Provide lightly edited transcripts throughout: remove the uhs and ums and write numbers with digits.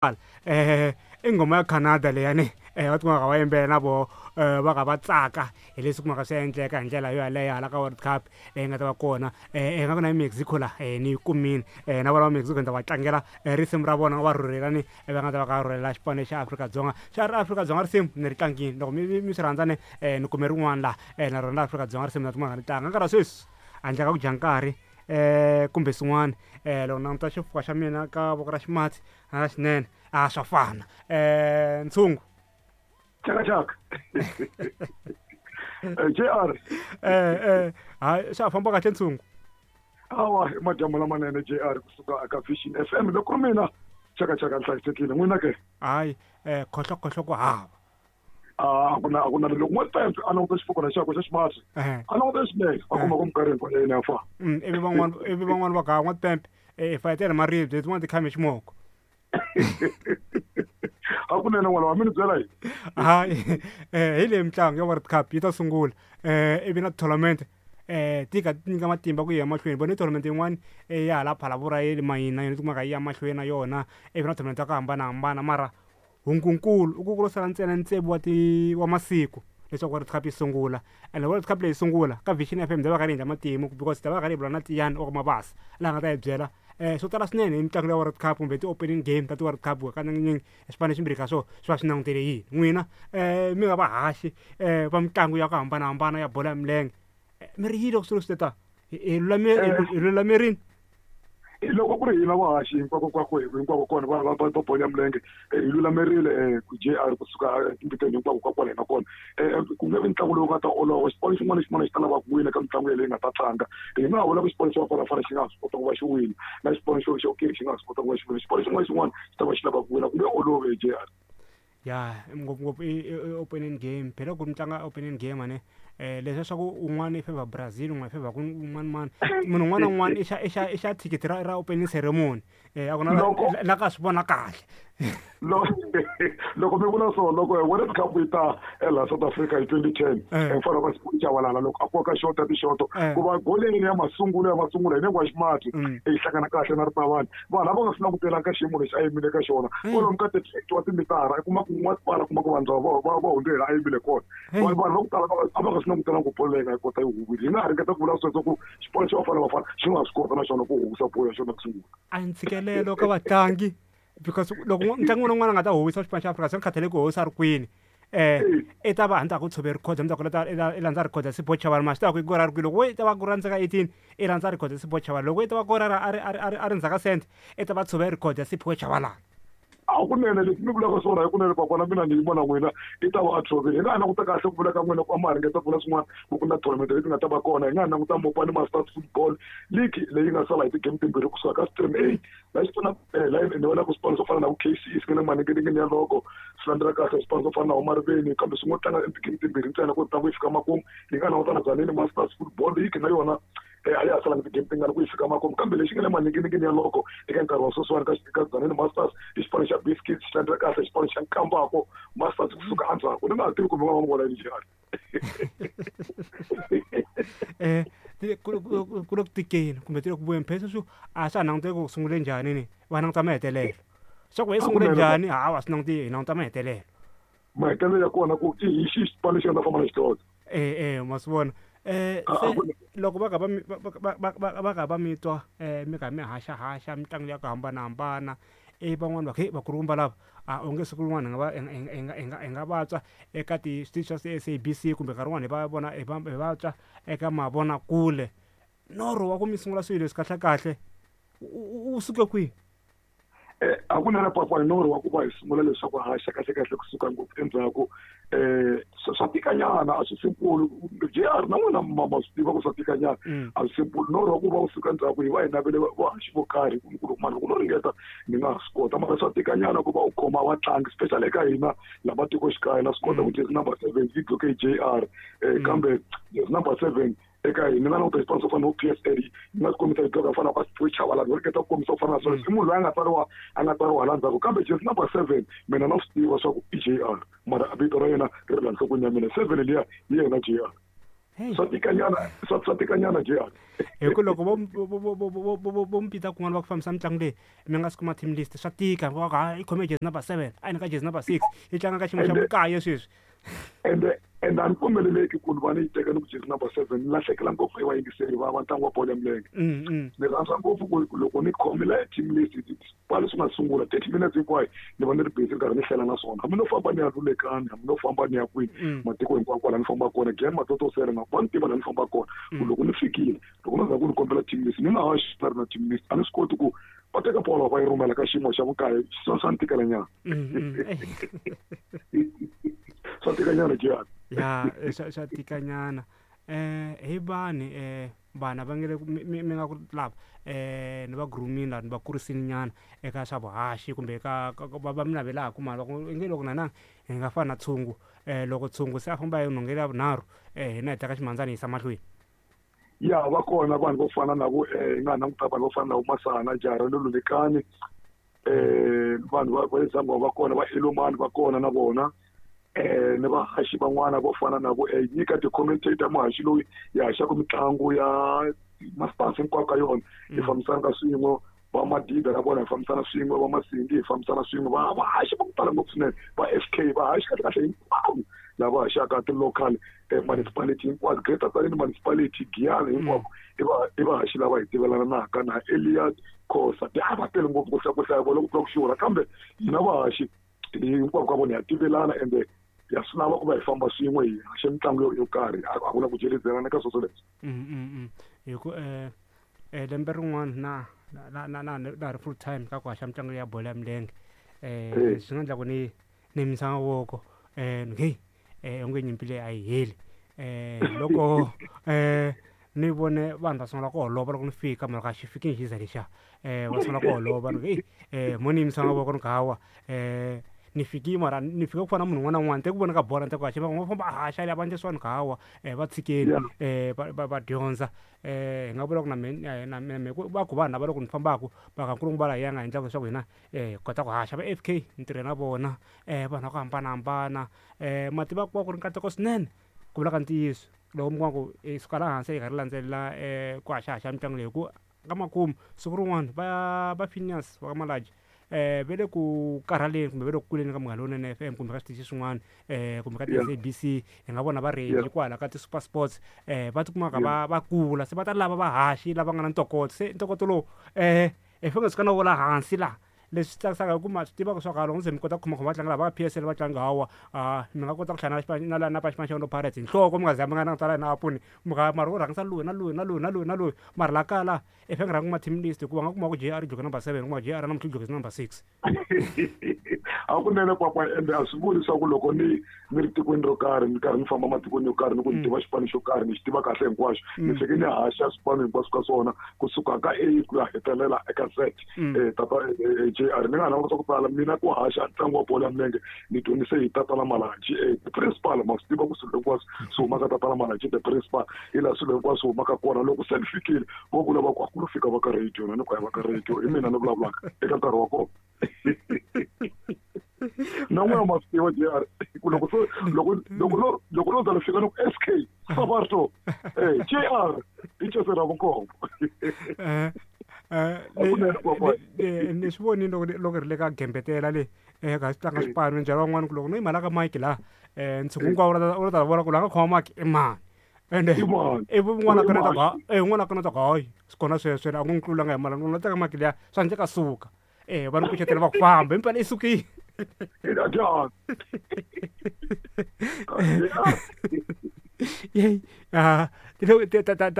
I nghoma ya Canada leyani va tikumaka va yimbelela na voho va ka va tsaka hi leswi kumaka swi endleka hi ndlela yo yaleyo hala ka World Cup leyi nga ta va kona nga ku na Mexico la ni yi kumile na vona va Mexico ni ta va tlangela risimu ra vona va rhurhela ni va nga ta va ka rhurhela xipano xa Afrika-Dzonga xa ri Afrika-Dzonga risimu ni ri tlangile loko mi swi rhandza ni ni kume rin'wana la na rona Afrika-Dzonga risimu na tikuma ni tlanga nkarhi wa sweswi handle ka ku dya nkarhi kumbe swin'wana loko ni languta xifuva xa mina ka voko ra ximatsi na ra xinene a swa fana ntshungu. Chaka chaka. JR. Hayi swa ha famba kahle ntshungu. Awa i madyambu lamanene JR kusuka eka Vision FM loko mina chaka chaka ni hlayisekile n'wina ke. Hayi khohlo khohlo ku hava. A ku na a ku na loko n'wampempe a languta xifukwana xakwe xa ximatsi a languta xinene a kuma ku minkarhi hinkwayo yena ya fana. Ivi van'wana ivi van'wana va ga n'wampempe i fayetela maribye tin'wana ti khame ximoko. Hakunene n'wana wa mina byela yini? Hayi hi leyi mitlangu ya World Cup yi ta sungula ivi na tournament ti ka ti nyika matimba ku ya mahlweni vone tournament yin'wana ya hala Phalaborwa ya le mayini na yona yi tikumaka yi ya mahlweni na yona ivi na tournament ta ku hambanahambana mara hungunkulu i ku ku lo sala ntsena tsevu wa ti wa masiku leswaku World Cup yi sungula and World Cup leyi sungula ka Vision FM ta va karhi hi endla matimu because ta va karhi hi bula na Tiyani wa ka Mabasa laha nga ta hi byela swo tala swinene hi mitlangu ya World Cup kumbe ti-opening game ta ti-World Cup hakanyingi swipano swimbirhi ka swona swi va swi langutele yini n'wina mi nga vahaxi va mitlangu ya ku hambanahambana ya bolo ya milenge mi ri yini loko swilo swi te ta hi hi lulamerile. Loko ku ri hina vahaxi hinkwako kwako hinkwako kona va va va bolo ya milenge hi lulamerile ku JR kusuka etimbiteni hinkwako ka kwala hi nga kona ku nge vi ntlangu lowu nga ta olova xipano xin'wana na xin'wana xi ta lava ku wina ka mitlangu yaleyo yi nga ta tlanga hi nga ha vula ku xipano xa Bafana Bafana xi nga ha swi kota ku va xi wina na xipano xo xo xi nga ha swi kota ku va xi wina xipano xin'wana na xin'wana xi ta va xi lava ku wina ku nge olovi JR. Ya ngopfungopfu i opening game phela loko mi tlanga opening game ane leswiya swa ku un'wana i favour Brazil un'wana i favour ku un'wana mani munhu un'wana na un'wana i xa i xa i xa thikithi ra opening ceremony a ku na la ka swi vona kahle. Loko mi vula so loko World Cup yi ta laha South Africa hi 2010 mfana wa Sipho Chabalala loko a koka xota tixoto ku va goleni ya masungulo ya masungulo hi nenge wa ximatsi yi hlangana kahle na Ripavani vanhu a va nga swi langutelanga ka xiyimo lexi a yimile ka xona kwalomu ka 38 wa timitara i kuma ku n'watipala kuma ku vanhu lava va va hundzela a yimile kona vanhu va ku tala a va nga swi langutelanga ku bolo leyi nga yi kota yi huwile hi nga ha ringeta ku vula sweswo ku xipano xa Bafana Bafana xi nga swi kota na xona ku huwisa bolo ya xona ku sungula. A ntshikelelo ka vatlangi because loko mutlangi un'wana na un'wana a nga ta huwisa xipano xa Afrika swi nga khathaleki ku huwisa a ri kwini i ta va a ku tshove record mundzuku i landza record ya Sipho Chabalala ma swi tiva ku i ku ra ri kwihi loko wo i ta va ku ra ndzhaku ka 18 i landza record ya Sipho Chabalala loko i ta va ku ra a ri a ri a ri a ri ndzhaku ka cent i ta va tshove record ya Sipho Chabalala. Hakunene leswi mi vulaka swona hikunene papa na mina ni yima na n'wina i ta va a tshovile hi nga ha languta kahle ku vula ka n'wina ku a ma ha ringeta ku vula swin'wana ku ku na tournament leti nga ta va kona hi nga ha languta Mopani Masters Football League leyi nga sala hi ti-game timbirhi kusuka ka stream A la xi pfuna la ni vona ku swipano swo fana na vo K_C_E swi nga le maninginingini ya loko swi landzela kahle swipano swo fana na vo Mariveni kambe swi ngo tlanga ti-game timbirhi ntsena ku ntlangu yi fika makumu yi nga languta na Tzaneen Masters Football League na yona a ya ha salanga ti-game tingani ku yi fika makumu kambe lexi nga le maninginingini ya loko eka nkarhi wa sweswiwani ka Tzaneen Masters i xipano xa Biscuits xi landzela kahle xipano xa Nkambako Masters kusuka endzhaku ni nga ha tivi kumbe va va vona yini njhani. Ku ku le ku tikeni kumbe ti le ku vuyeni phela sweswi a swa ha languteki ku sungule njhani ni va languta mahetelelo swa ku yi sungule njhani hawa swi languti hi languta mahetelelo. Mahetelelo ya kona ku i hi xihi xipano lexi nga ta famba na xidlodlo. Ma swi vona se loko va kha va mi va va va va va kha va mi twa mi kha mi haxahaxa mitlangu ya ku hambanahambana ivi van'wani va ku heyi vakulukumba lava a onge siku rin'wana hi nga va hi nga hi nga hi nga hi nga va twa eka ti switichi swa S_A_B_C kumbe nkarhi wun'wani hi va vona hi va hi va twa eka mavonakule norho wa ku mi sungula swilo leswi kahlekahle wu suke kwihi? Hakunene papa hi norho wa ku va hi sungula leswaku haxa kahlekahle kusuka ngopfu endzhaku swa tikanyana a swi simple J_R na n'wina ma ma swi tiva ku swa tikanyana a swi simple norho wa ku va wu suka endzhaku hi va hi navele vahaxi vo karhi ku loko mara loko no ringeta ni nga ha swi kota mara swa tikanyana ku va u khoma vatlangi especially eka hina la matikoxikaya na swi kota ku jersey number 7 yi gqoke hi J_R kambe jersey number 7 eka hina ni nga languta xipano swo fana na P_S_L yi nga kombisa hi dloka fana na Siphiwe Chabalala ni ringeta ku kombisa ku fana na sweswo i munhu loyi a nga tsariwa a nga tsariwa hala ndzhaku kambe jersey number 7 mina na swi tiva swa ku i J_R mara vito ra yena ri ri la nhlokweni ya mina 7 liya hi yena J_R. Swa tikanyana, swa tikanyana jiyani. Hi ku loko vo mpita kun'wana va ku fambisa mitlangu leyi mi nga si kuma team list, swa tika va ku ha i khome jezi number 7, a yi ka jezi number 6, yi tlanga ka xiyimo xa vukaye sweswi. Ende a ni pfumeleleki ku ni va ni yi teka ni ku jezi number 7, ni lahlekela ngopfu hi vayingiseri va ntlangu wa bolo ya milenge. Ni rhandza ngopfu ku loko ni khomile team list kwale swi nga sungula 30 minutes hinkwayo ni va ni ri busy ni karhi ni hlela na swona. Hambi no famba ni ya Lulekani, hambi no famba ni ya kwini, matiko hinkwawo kwala ni famba kona, Glen Matotosela na va ni tiva laha ni famba kona. Ku loko ni fikile, loko no za ku ni kombela team list, ni nga ha xi ri na team list, a ni swi koti ku va teka bolo va yi rhumela ka xiyimo xa vukaye, swa ni tikela nyana. Swa tikanyana Jiyani. Ya, swa tikanyana. Hi vanhu vana va nge mi nga ku lava ni va grooming la ni va kurisini nyana eka swa vuhaxi kumbe eka va mi navelaka mara va ku nge loko na hi nga fana na tshungu, loko tshungu se a famba hi nhongele ya vunharhu, hina hi teka ximandzana hi yisa mahlweni. Ya, va kona vanhu vo fana na vo, hi nga languta vanhu vo fana na vo Masana, Jara le Lulekani, vanhu va le Zambia va kona, va Elomani va kona na vona. Ni vahaxi van'wana vo fana na vo, nyika ti-commentator muhaxi loyi hi haxaka mitlangu ya masters hinkwako ka yona, hi fambisana ka swin'we, va Madida na vona hi fambisana swin'we, va Masindi hi fambisana swin'we, va vahaxi va ku tala ngopfu swinene, va FK vahaxi kahle kahle hinkwavo lava haxaka ti-local municipality hinkwato, Greater Tzaneen municipality, Giyani hinkwako, i vahaxi lava hi tivelanaka na Elias Khosa. A va tele ngopfu ku hlaya vona ku tlula ku xurha, kambe hina vahaxi hinkwako ka vona ha tivelana ende ya swi lava ku va hi famba swin'we hi haxa mitlangu yo karhi, a ku na ku jelezelana ka sweswo leswi. Hi ku lembe rin'wana na ri full time ka ku haxa mitlangu ya bolo ya milenge, swi nga endla ku ni yimisa mavoko, hey, onge nyimpi leyi a yi heli. Loko ni vone vanhu va sungula ku holova loko ni fika, mara a xi fikini xi za lexiya, va sungula ku holova ni ku hey, mo ni yimisa mavoko ni ku hawa, ni fikile mara ni fika ku fana na munhu un'wana na un'wana, ni te ku vona ka bolo ni te ku haxa, va famba haxa liya va endle swona ni ku hawa, va tshikeni, va dyondza. Hi nga vula ku na mina, na mina va ku vanhu lava loko ni fambaka va nga nkulukumba laha ya nga endlaka leswaku hina hi kota ku haxa va FK ni tirhe na vona, vanhu va ku hambanahambana, ma tiva ku va ku ri nkateko swinene ku vula ka ntiyiso loko mi kuma ku hi suka laha hansi hi karhi landzelela ku haxahaxa mitlangu leyi, hi ku ka makumu siku rin'wana va Phineas va ka Malaji, va le ku karhaleni kumbe va le ku kuleni ka Munghana Lonene FM kumbe ka switichi swin'wana, kumbe ka ti-SABC, hi nga vona va ready kwala ka ti-Super Sports, va tikumaka va kula se va ta lava vahaxi lava nga na ntokoto, se ntokoto lowu hi fanele suka na wo la hansi laha. Leswi tsakisaka hi ku ma swi tiva leswaku loko se mi kota ku khomakhoma vatlangi lava va PSL va tlanga hawa, mi nga kota ku hlangana na xipano xa Orlando Pirates hi nhloko mi nga za mi nga langutana na apuni, mi nga mara u rhangisa loyi na loyi na loyi na loyi na loyi, mara laha kaya laha i fanele rhanga kuma team list hikuva nga kuma ku JR dloke number 7, kuma JR namuntlha dloke number 6. Hakunene kwakwa, ende a swi vuli leswaku loko ni ri tikweni ro karhi ni karhi ni famba matikweni yo karhi ni ku ni tiva xipano xo karhi ni xi tiva kahle hinkwaxo, ni fike ni haxa swipano hinkwaswo ka swona kusuka ka A ku ya hetelela eka Z. Tata JR ni nga ha languta ku tala mina ku haxa ntlangu wa bolo ya milenge ni dyondzise hi Tatana Malanji, the principal, ma swi tiva ku swilo hinkwaswo swi humaka Tatana Malanji the principal, hi laha swilo hinkwaswo swi humaka kona. Loko se ni fikile vo vula va ku a ku lo fika va ka radio, na ni ku a va ka radio, hi mina ni vulavulaka eka nkarhi wa kona. Na n'wina ma swi tiva JR ku loko loko no za ni fika ni ku SK Sabarto, JR i Jose Ravukombo. Ni swi vonile loko ri le ka gembetela le, ka swi tlanga swipano njhani van'wana ku loko no yima la ka mike laha, ntshungu hinkwawo wu ta vona ku la nga khoma mike i mani. Ende ivi un'wana a kaneta ku un'wana a kaneta ku hayi swi kona sweswo a ku n'wi tlulanga hi mali, n'wi teka mike liya swa endleka suka. Va ni kucetela va ku famba himpela i sukile.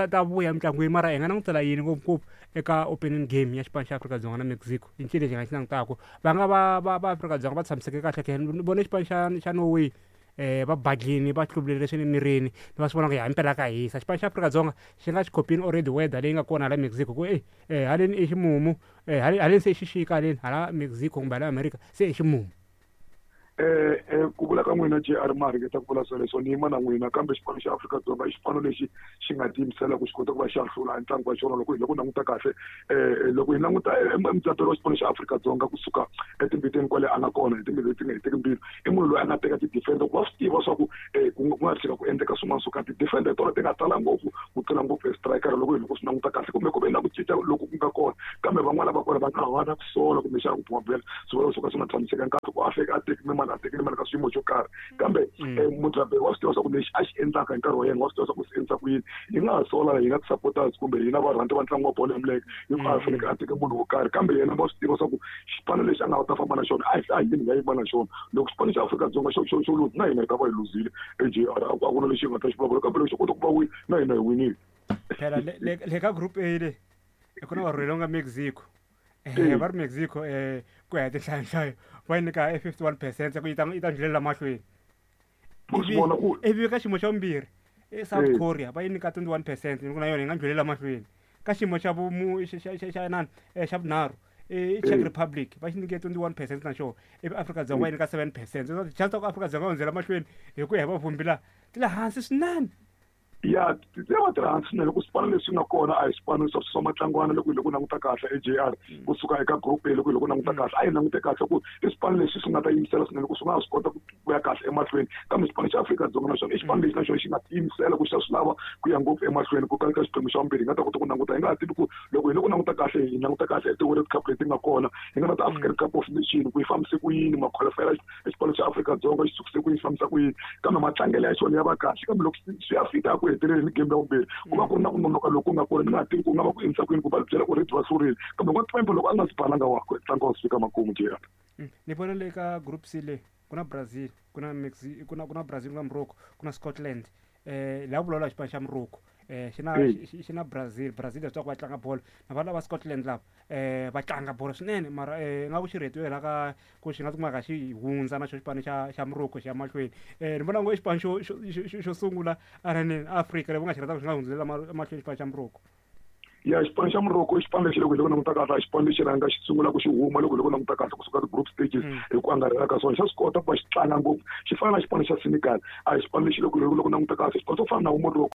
Ta vuya mintlangwini, mara hi nga langutela yini ngopfungopfu eka opening game ya xipano xa Afrika-Dzonga na Mexico? I ncini lexi hi nga xi langutaka? Va nga va Afrika-Dzonga va tshamiseke kahle ke ni vone xipano xa Norway, va badlini va hluvulele swi le mirini, va swi vona ku himpela ka hisa. Xipano xa Afrika-Dzonga xi nga xi khopini already weather leyi nga kona hala Mexico ku haleni i ximumu, haleni se i xixika haleni hala Mexico kumbe hala America se i ximumu. Ku vula ka n'wina JR ma ringeta ku vula swoleswo ni yima na n'wina, kambe xipano xa Afrika-Dzonga i xipano lexi xi nga tiyimisela ku xi kota ku va xa hlula ntlangu wa xona. Loko hi loko languta kahle, loko hi languta mudzaberi wa xipano xa Afrika-Dzonga kusuka etimbiteni kwale a nga kona hi timbilu leti nga heteki mbilu, i munhu loyi a nga teka ti-defender ku va swi tiva swa ku ku nga tshika ku endleka swin'wana swo ka ti-defender hi tona ti nga tala ngopfu ku tlula ngopfu e striker. Loko hi loko swi languta kahle, kumbe ku ve na ku cinca loku ku nga kona, kambe van'wana va kona va nga va na ku sola kumbexana ku bumabumela swi vula swo ka swi nga tshamisekanga kahle ku a fika a tekile mali, a tekile mali ka swiyimo xo karhi. Kambe mudzaberi wa swi tiva swa ku lexi a xi endlaka hi nkarhi wa yena, wa swi tiva swa ku swi endlisa ku yini. Hi nga ha sola hina ti-supporters kumbe hina varhandzi va ntlangu wa bolo ya milenge hi ku a fanekele a teke munhu wo karhi, kambe yena wa swi tiva swa ku xipano lexi a nga ta famba na xona a hi yini nga yima na xona. Loko xipano xa Afrika-Dzonga xo luza, na hina hi ta va hi luzile AJR, a ku na lexi hi nga ta xi vulavula, kambe loko xo kota ku va wina, na hina hi winile. Phela le ka group A le ku na varhwele nga Mexico. Va ri Mexico ku ya hi tinhlayohlayo va yi nyika e 51% ku yi ta ndlhulela mahlweni. Ivi ka xiyimo xa vumbirhi i South Korea, va yi nyika 21% ni ku na yona yi nga ndlhulela mahlweni. Ka xiyimo xa vumu xa nani, xa vunharhu i Czech Republic, va xi nyike 21% na xona, ivi Afrika-Dzonga va yi nyika 7%. Chance ta ku Afrika-Dzonga hundzela mahlweni hi ku ya hi vavhumbi laha ti le hansi swinene. Ya, ti va ti ri hansi swinene ku swipano leswi nga kona a hi swipano swa matlangwana. Loko hi loko languta kahle AJR, kusuka eka group A, loko hi loko languta kahle, a hi langute kahle ku i swipano leswi swi nga ta yimisela swinene ku swi nga swi kota ku ya kahle emahlweni. Kambe xipano xa Afrika-Dzonga na xona i xipano lexi na xona xi nga tiyimisela ku xa swi lava ku ya ngopfu emahlweni. Ku ka xiphemu xa vumbirhi hi nga ta kota ku languta, hi nga ha tivi ku loko hi loko languta kahle, hi languta kahle ti-World Cup leti nga kona, hi nga na ti-African Cup of Nation ku yi fambise ku yini, ma-qualify xipano xa Afrika-Dzonga xi sukise ku yini, xi fambisa ku yini, kambe matlangelo ya xona ya va kahle. Kambe loko swi ya fika ku heteleleni game ya vumbirhi, ku va ku ri na ku nonoka loku nga kona. Ni nga ha tivi ku nga va ku endlisa ku yini ku va byela ku red va hlurile, kambe n'watimembe loko a nga swi balanga wa ntlangu wa swi fika makumu JR. Ni vona le ka group C le ku na Brazil, ku na Mexico, ku na Brazil, ku na Morocco, ku na Scotland. Laha vulavula xipano xa Morocco xi na xi na Brazil. Brazil leswaku va tlanga bolo na va lava Scotland lava va tlanga bolo swinene, mara nga ku xi rhetiwe la ka ku xi nga tikuma xi hundza na xo xipano xa Morocco xi ya mahlweni. Ni vona ngo i xipano xo sungula ananini Afrika leyi va nga xi rhandzaka xi nga hundzulela mahlweni, xipano xa Morocco. Ya, xipano xa Morocco i xipano lexi loko hi loko languta kahle a xipano lexi rhanga xi sungula ku xi huma. Loko hi loko languta kahle kusuka ti-group stages hi ku angarhela ka swona, xa swi kota ku va xi tlanga ngopfu. Xi fana na xipano xa Senegal, a hi xipano lexi loko hi loko languta kahle xipano xo fana na vo Morocco.